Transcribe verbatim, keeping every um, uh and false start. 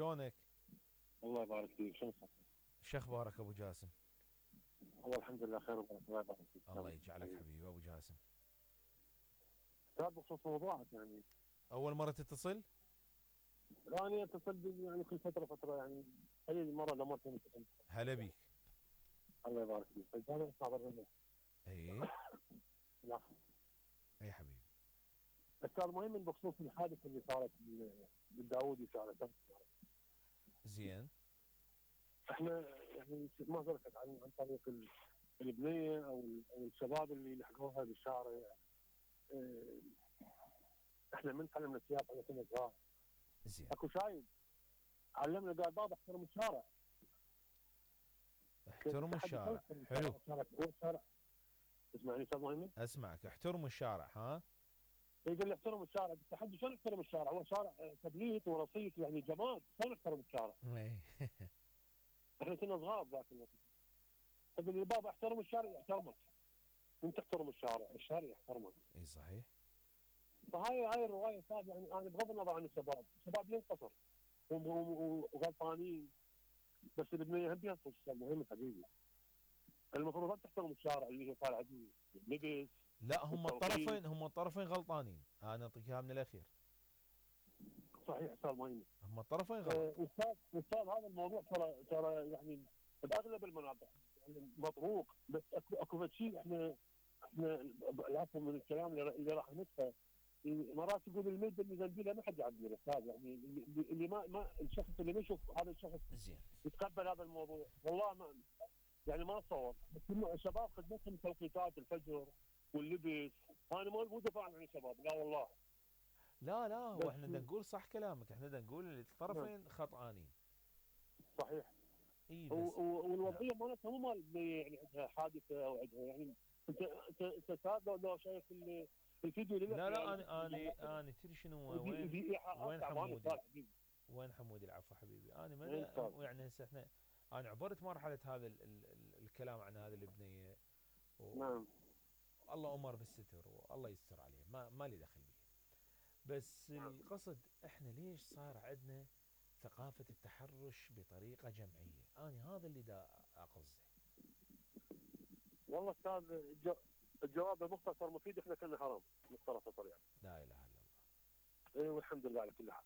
شلونك؟ الله يبارك فيك. شو صحتك؟ شو اخبارك ابو جاسم؟ والله الحمد لله خير وبركه. الله يبارك فيك. الله يجعلك حبيبي ابو جاسم. استاذ بخصوص موضوعك يعني اول مره تتصل؟ راني اتصل بي يعني كل فتره فتره يعني قليل مره لمرتين اتصل. هلا بيك. الله يبارك فيك. طيب انا اسمع برنامج. اي لا اي حبيبي. استاذ مهم بخصوص الحادثه اللي صارت بال- بالداوودي شارع تنس. زين. احنا يعني ما سلكت عن عن طريق ال- البنيه او ال- أو الشباب اللي لحقوها بالشارع. اه، احنا من تعلمنا السياقه احنا كنا صغار. زين. اكو شايب علمنا قال بابا احترم الشارع. احترموا الشارع. حلو. الشارع هو الشارع. تسمعني استاذ مهند؟ اسمعك. احترموا الشارع. ها. يقول لي احترم الشارع. التحدي شلون احترم الشارع؟ هو شارع آه، تبليط ورصيف يعني جماد، شلون احترم الشارع؟ اي احنا كنا صغار ذاك الوقت. يقول لي بابا احترم الشارع. يحترمك. انت تحترم الشارع، الشارع يحترمك. اي صحيح. فهاي هاي الروايه صار يعني انا بغض النظر عن الشباب، الشباب ينتصر هم- هم- وغلطانين، بس البنيه هم بينتصر. المهم حبيبي المفروض انت تحترم الشارع اللي هي طالع بيه اللبس. لا هم التوقيت. الطرفين هم الطرفين غلطانين. انا اعطيك اياها من الاخير. صحيح استاذ مهند. هم الطرفين غلط. آه، استاذ استاذ هذا الموضوع ترى ترى يعني باغلب المناطق يعني مطروق، بس اكو اكو شيء احنا احنا العفو من الكلام اللي اللي راح ندفع. مرات يقول المده اللي ذنبيله ما حد يعدل استاذ، يعني اللي, اللي ما ما الشخص اللي ما يشوف هذا الشخص زين. يتقبل هذا الموضوع. والله ما يعني ما اتصور، بس إنه الشباب خدمتهم توقيتات الفجر واللبس. انا مو مو دفاع عن الشباب، لا والله. لا لا هو بس احنا بدنا نقول صح كلامك. احنا بدنا نقول الطرفين خطأانين. صحيح. اي و- بس. و- والوضعيه مالتها مو مال يعني عندها حادثه او عندها يعني انت انت انت أستاذ لو لو شايف ال- الفيديو اللي لا لا يعني انا انا انا تدري شنو دي وين؟ دي ايحاءات وين تعبانه حمودي؟ استاذ حبيبي. وين حمودي؟ العفو حبيبي. انا وين استاذ؟ ما يعني هسه احنا انا عبرت مرحله هذا ال ال ال الكلام عن هذه البنيه نعم. والله امر بالستر والله يستر عليه. ما ما لي دخل به. بس نعم. القصد احنا ليش صار عندنا ثقافه التحرش بطريقه جمعيه؟ انا هذا اللي دا اقصده. والله استاذ الج- الجواب المختصر مفيد. احنا كنا حرام مختصر يعني. لا اله الا الله. اي والحمد لله على كل حال.